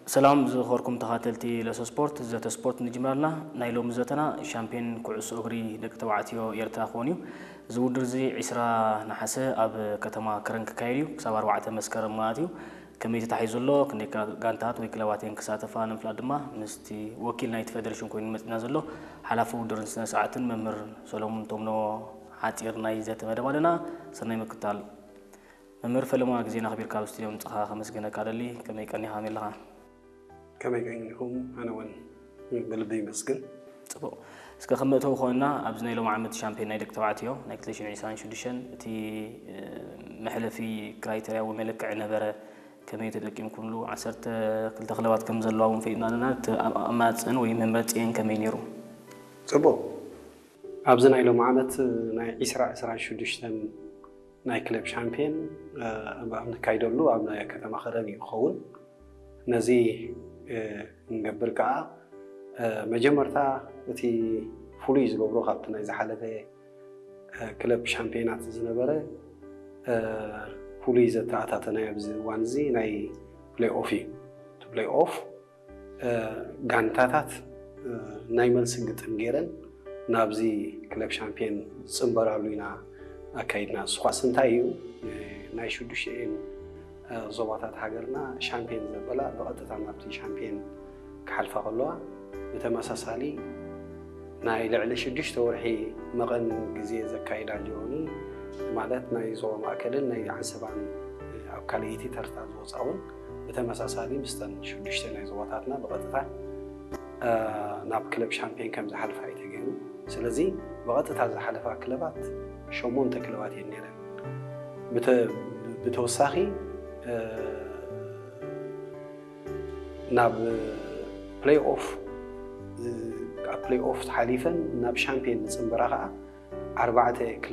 ሰላም ዝኸርኩም ተኻተልቲ ለሶ ስፖርት፣ ዘተ ስፖርት ንጅምራልና። ናይ ሎሚ ዘተና ሻምፒዮን ኩዕሶ እግሪ ደቂ ተባዕትዮ ኤርትራ ክኾን እዩ። እዚ ውድድር እዚ ዕስራ ነሓሰ ኣብ ከተማ ከረን ክካየድ እዩ፣ ክሳብ ኣርባዕተ መስከረም ማለት እዩ። ከመይ ተታሒዙ ዘሎ፣ ክንደይ ጋ-፣ ጋንታት ወይ ክለባት እየን ክሳተፋ ንምፍላጥ ድማ ምስቲ ወኪል ናይቲ ፌደሬሽን ኮይኑ መፂና ዘሎ ሓላፊ ውድድርን ስነ ስርዓትን መምህር ሰሎሙን ቶምኖ ሓፂር ናይ ዘተ መደብ ኣለና። ሰናይ ምክታል። መምህር ፈለማ፣ ግዜና ኣኽቢርካ ኣብ ስቱድዮ ምምጻኻ ከመስግነካ ደሊ። ከመይ ቀኒኻ፣ ከመይ ኣለኻ? ከመይ ቀኒኹም? ኣነ እውን ብልቢ ይመስግን። ጽቡቕ። እስከ ከም መእተዊ ክኾንና፣ ኣብዚ ናይ ሎሚ ዓመት ሻምፒዮን ናይ ደቂ ተባዕትዮ ናይ ክልተ ሽሕን ዕስራን ሽዱሽተን እቲ፣ እ፣ መሕለፊ ክራይተርያ ወይ መለክዒ ነበረ። ከመይ ተጠቂምኩምሉ? ዓሰርተ ክልተ ክለባት ከም ዘለዋ እውን ፈሊጥና ኣለና። እቲ ኣማጽእን ወይ መምረጺኤን ከመይ ነይሩ? ጽቡቕ። ኣብዚ ናይ ሎሚ ዓመት ናይ ዕስራ ዕስራን ሽዱሽተን ናይ ክለብ ሻምፒዮን፣ እ፣ ኣብ ንካይደሉ ኣብ ናይ ከተማ ከረን እዩ ክኸውን። ነዚ፣ እ፣ እንገብር ከኣ፣ እ፣ መጀመርታ እቲ ፍሉይ ዝገብሮ ካብቲ ናይ ዝሓለፈ፣ እ፣ ክለብ ሻምፒዮናት ዝነበረ፣ እ፣ ፍሉይ ዘተኣታተናዮ ኣብዚ እዋን እዚ ናይ ፕሌይ ኦፍ እዩ። እቲ ፕሌይ ኦፍ እ፣ ጋንታታት፣ እ፣ ናይ መልሲ ግጥም ገይረን ናብዚ ክለብ ሻምፒዮን ዝጽንበራሉ ኢና ኣካይድና። እሱ ኳስ እንታይ እዩ? እ፣ ናይ ሽዱሽተኤን፣ እ፣ ዞባታት ሃገርና ሻምፒዮን ዘበላ ብቐጥታ ናብቲ ሻምፒዮን ክሓልፋ ከለዋ፣ ብተመሳሳሊ ናይ ልዕሊ ሽዱሽተ ወርሒ መቐን ግዜ ዘካይዳ ጆርኒ፣ ማለት ናይ ዞባ ማእከልን ናይ ዓንሰባን፣ እ፣ ኣብ ካልኣይቲ ተርታ ዝወጻ እውን ብተመሳሳሊ ምስተን ሽዱሽተ ናይ ዞባታትና ብቐጥታ፣ እ፣ ናብ ክለብ ሻምፒዮን ከም ዝሓልፋ እዩ ተገይሩ። ስለዚ ብቐጥታ ዝሓለፋ ክለባት ሸሞንተ ክለባት እየን ነይረን። ብተ-፣ ብተወሳኺ፣ እ፣ ናብ ፕሌይ ኦፍ፣ እ፣ ካብ ፕሌይ ኦፍ ሓሊፈን ናብ ሻምፒዮን ዝጽንበራ ከኣ ኣርባዕተ ክለባት